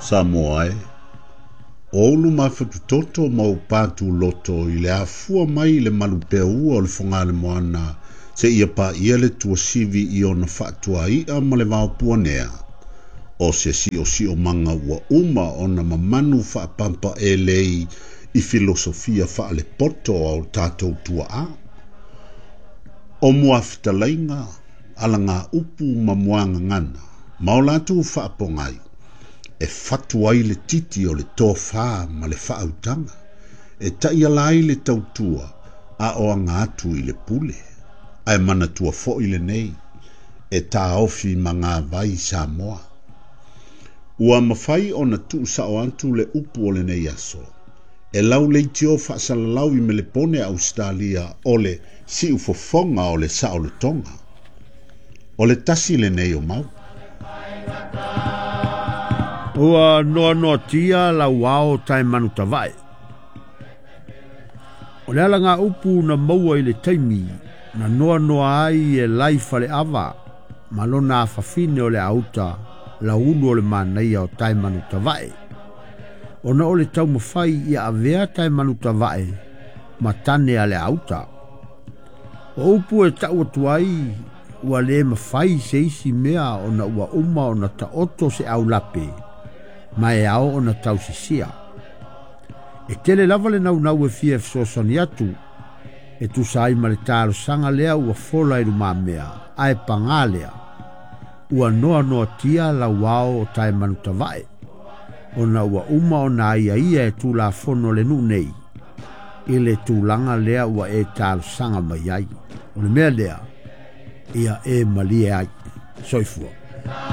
Samoa e, o ulu mafatutoto ma ou patuloto i le afua mai i le malupeaua o le Fogaalemoana seia paia le tuasivi i ona faatuai'a ma le vaopuanea, o se siosiomaga ua uma ona mamanu faapampaelei i filosofia faalepoto a o tatou tuaa. O muafetalaiga, alagaupu ma muagagana, ma o latou faapogai, e fatu ai le titi o le tofā ma le faautaga, e taiala ai le tautua a o aga atu i le pule. Ae manatua foi lenei, e taofi magavai Samoa. Ua mafai ona tuusao atu le upu o lenei aso, e lau leitio faasalalau i Melepone Ausetalia o le siufofoga o le saolotoga. O le tasi lenei o mau. Ua noanoatia lau ao Taemanutavae. O le alagaupu na maua i le taimi na noanoa ai e lai faleava ma lona afafine o le auta laulu o le manaia o Taemanutavae. Ona o le taumafai ia avea Taemanutavae ma tane a le auta. O upu e tau atu ai ua le mafai se isi mea ona ua uma ona taoto se aulape ma e ao ona tausisia. E tele lava le naunau e fia fesoasoani atu e tusa ai ma le talosaga lea ua fola i lumamea ae pagā lea ua noanoatia lau ao o Taemanutavae ona ua uma ona aiaia e tulafono le nuu nei i le tulaga lea ua e talosaga mai ai. O le mea lea ia e malie ai. Soifua.